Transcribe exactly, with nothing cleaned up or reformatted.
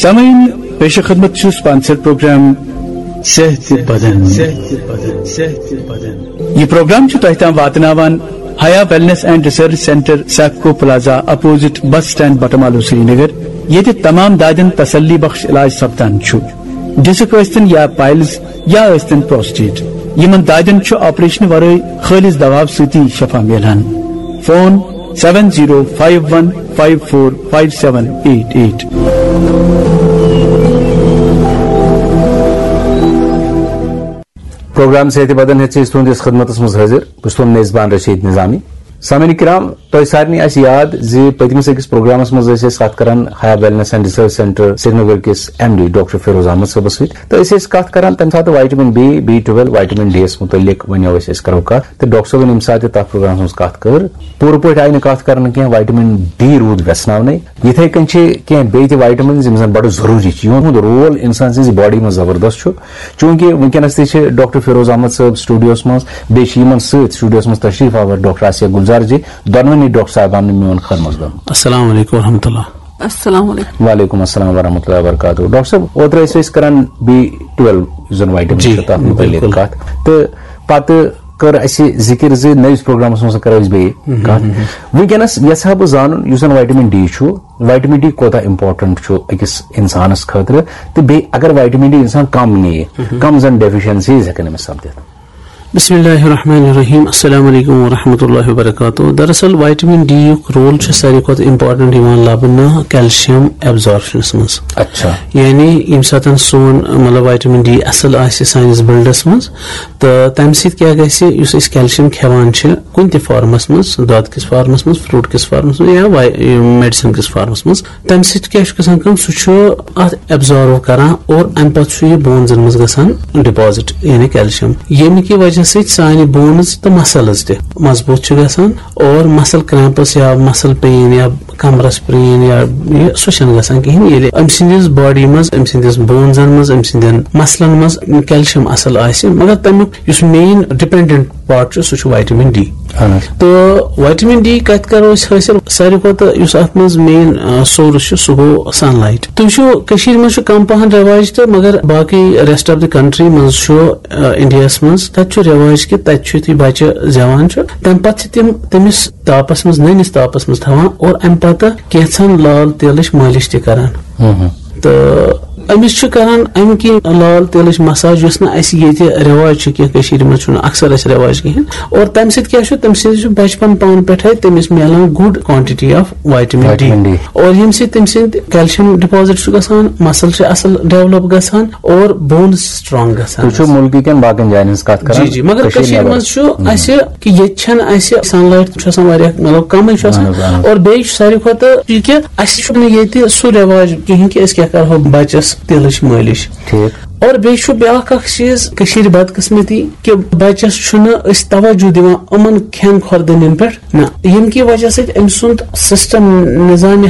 سامعین، پیش خدمت چھُ سپانسر پروگرام صحت بدن۔ یہ پروگرام چھُ تۄہہِ تام واتناوان Haya wellness and research centre, سیپکو plaza, opposite bus stand, Batmaloo, Srinagar, ییٚتہِ تمام دادٮ۪ن تسلی بخش علاج سپدان چھُ۔ ڈسک ٲسۍتن یا پائلز یا ٲسۍتن پروسٹیٹ، یِمن دادٮ۪ن چھُ آپریشن ورٲے خٲلص دوا سۭتی شفا میلان۔ Phone seven zero five one five four five seven eight eight۔ Programme صحت بدن ہیٚتھ چھِ أسۍ تُہنٛدِس خدمتس منٛز حٲضِر۔ بہٕ چھُس تُہُنٛد میزبان رشید نظامی۔ سامعین کرام، تۄہہِ سارنٕے آسہِ یاد زِ پٔتمِس أکِس پروگرامس منٛز ٲسۍ أسۍ کتھ کران Haya wellness and research centre Srinagar کِس M D doctor Feroz Ahmad صٲبس سۭتۍ، تہٕ أسۍ ٲسۍ کتھ کران تمہِ ساتہٕ vitamin B, B twelve, vitamin D یس متعلق ونیو أسۍ، أسۍ کرو کتھ۔ تہٕ ڈاکٹر صٲبن ییٚمہِ ساتہٕ تہِ تتھ پروگرامس منٛز کتھ کٔر، پوٗرٕ پٲٹھۍ آیہِ نہٕ کتھ کرنہٕ کینٛہہ، وائٹمن ڈی روٗد ویژھناونَے۔ یِتھے کٔنۍ چھِ کینٛہہ بیٚیہِ تہِ وائٹمنز یِم زن بڑٕ ضروٗری چھِ، یِہُنٛد رول انسان سٕنٛزِ باڈی منٛز زبردست چھُ۔ چوٗنٛکہِ وٕنکیٚنَس تہِ چھِ ڈاکٹر فیروز احمد صٲب سٹوڈیوَس منٛز، بیٚیہِ چھِ یِمَن سۭتۍ سٹوڈیوَس منٛز تشریٖف آوَر ڈاکٹر آسیہ گُلزار جی، دۄنوٕنی ڈاکٹر صاحبَن میون خٲر مقدم۔ السلام علیکم ورحمۃ اللہ۔ السلام علیکم۔ وعلیکم السلام ورحمۃ اللہ وبرکاتہ۔ ڈاکٹر صٲب، اوترٕ ٲسۍ أسۍ کران بی ٹُویلو یُس زن وائٹمن جی، چھُ، تَتھ مُتعلِق بِلکُل۔ کَتھ، تہٕ پتہٕ کٔر اَسہِ ذِکِر زِ نٔوِس پروگرامَس منٛز کرو أسۍ بیٚیہِ کَتھ۔ وٕنکیٚنَس یَژھٕ ہا بہٕ زانُن، یُس زن وائٹمن ڈی چھُ، وائٹمن ڈی کوتاہ امپورٹنٹ چھُ أکِس انسانس خٲطرٕ، تہٕ بیٚیہِ اگر وائٹمن ڈی انسان کم نِیہِ، کم زن ڈیفیشنسیز ہیٚکن أمِس سپدِتھ؟ بسم اللہ الرحمن الرحیم۔ السلام علیکم ورحمۃ اللہ وبرکاتہ۔ دراصل وائٹمن ڈی یُک رول چھُ ساروی کھۄتہٕ امپورٹنٹ یِوان لبنہٕ کیلشیم ایبزارپشنس منٛز۔ اچھا۔ یعنی ییٚمہِ ساتہٕ سون، مطلب، وائٹمن ڈی اصل آسہِ سٲنِس بلڈس منٛز، تہٕ تمہِ سۭتۍ کیٛاہ گژھِ؟ یُس أسۍ کیلشیم کھٮ۪وان چھِ کُنہِ تہِ فارمس منٛز، دۄد کِس فارمس منٛز، فروٹ کِس فارمس منٛز یا وای-، میڈیسن کِس فارمس منٛز، تمہِ سۭتۍ کیٛاہ چھُ گژھان کٲم؟ سُہ چھُ اتھ ایبزارو کران اور امہِ پتہٕ چھُ یہِ بونزن منٛز گژھان ڈپازٹ، یعنی کیلشیم، ییٚمہِ کہِ وجہ سۭتۍ سانہِ بونز تہٕ مسلز تہِ مضبوٗط چھِ گژھان اور مسل کریمپس یا مسل پین یا کمرس پین یا یہِ، سُہ چھُنہٕ گژھان کِہیٖنۍ۔ ییٚلہِ أمۍ سٕنٛدِس باڈی منٛز، أمۍ سٕنٛدِس بونزن منٛز، أمۍ سٕنٛدٮ۪ن مسلن منٛز کیلشیم اصل آسہِ، مگر تمیُک یُس مین ڈپینڈنٹ پارٹ چھُ، سُہ چھُ وائٹمن ڈی۔ اہن حظ۔ تہٕ وائٹمن ڈی کتہِ کرو أسۍ حٲصِل؟ ساروی کھۄتہٕ یُس اتھ منٛز مین، آ، سورس چھُ، سُہ گوٚو سن لائٹ۔ تُہۍ وٕچھِو، کٔشیٖرِ منٛز چھُ کم پہن رٮ۪واج تہٕ، مگر باقٕے ریسٹ آف دی کنٹری منٛز چھُ، آ، انڈیاہس منٛز، تتہِ چھُ رٮ۪واج کہِ تتہِ چھُ یُتھُے بچہِ زٮ۪وان چھُ، تمہِ پتہٕ چھِ تِم تٔمِس تاپس منٛز، نٔنِس تاپس منٛز تھاوان اور امہِ پتہٕ کینٛژھن لال تیلٕچ مٲلِش تہِ کران۔ تہٕ أمِس چھِ کران اَمہِ کِنۍ لال تیلٕچ مساج، یۄس نہٕ اَسہِ ییٚتہِ رٮ۪واج چھُ کینٛہہ، کٔشیٖرِ منٛز چھُنہٕ اکثر اَسہِ رٮ۪واج کِہیٖنۍ۔ اور تَمہِ سۭتۍ کیٛاہ چھُ؟ تَمہِ سۭتۍ چھُ بچپن پانہٕ پٮ۪ٹھَے تٔمِس میلان good quantity of vitamin D۔ Vitamin D۔ اور ییٚمہِ سۭتۍ تٔمۍ سٕنٛدۍ کیلشیم ڈپازٹ چھُ گژھان، مسل چھِ اصل ڈیولپ گژھان اور بونز چھِ سٹرانگ گژھان۔ تُہۍ چھِو مُلکہٕ کٮ۪ن باقین جاین ہٕنٛز کتھ کران، جی، جی، مگر کٔشیٖرِ کٔشیٖرِ نٮ۪بر۔ منٛز چھُ اَسہِ کہِ ییٚتہِ چھَنہٕ اَسہِ سن لایٹ چھُ آسان واریاہ، مطلب، کمٕے چھُ آسان۔ اہن حظ، اہن حظ۔ اور بیٚیہِ چھُ ساروی کھۄتہٕ یہِ کہِ اَسہِ چھُنہٕ ییٚتہِ سُہ رٮ۪واج کِہیٖنۍ کہِ أسۍ کیٛاہ کرہو بچس تیلٕچ مٲلِش۔ ٹھیٖک۔ اور بیٚیہِ چھُ بیٛاکھ اکھ چیٖز کٔشیٖرِ بدقٕسمتی کہِ بچس چھُنہٕ أسۍ توجہ دِوان یِمن کھٮ۪ن خوردنٮ۪ن پٮ۪ٹھ نہ، ییٚمہِ کہِ وجہ سۭتۍ أمۍ سُنٛد سسٹم، نظام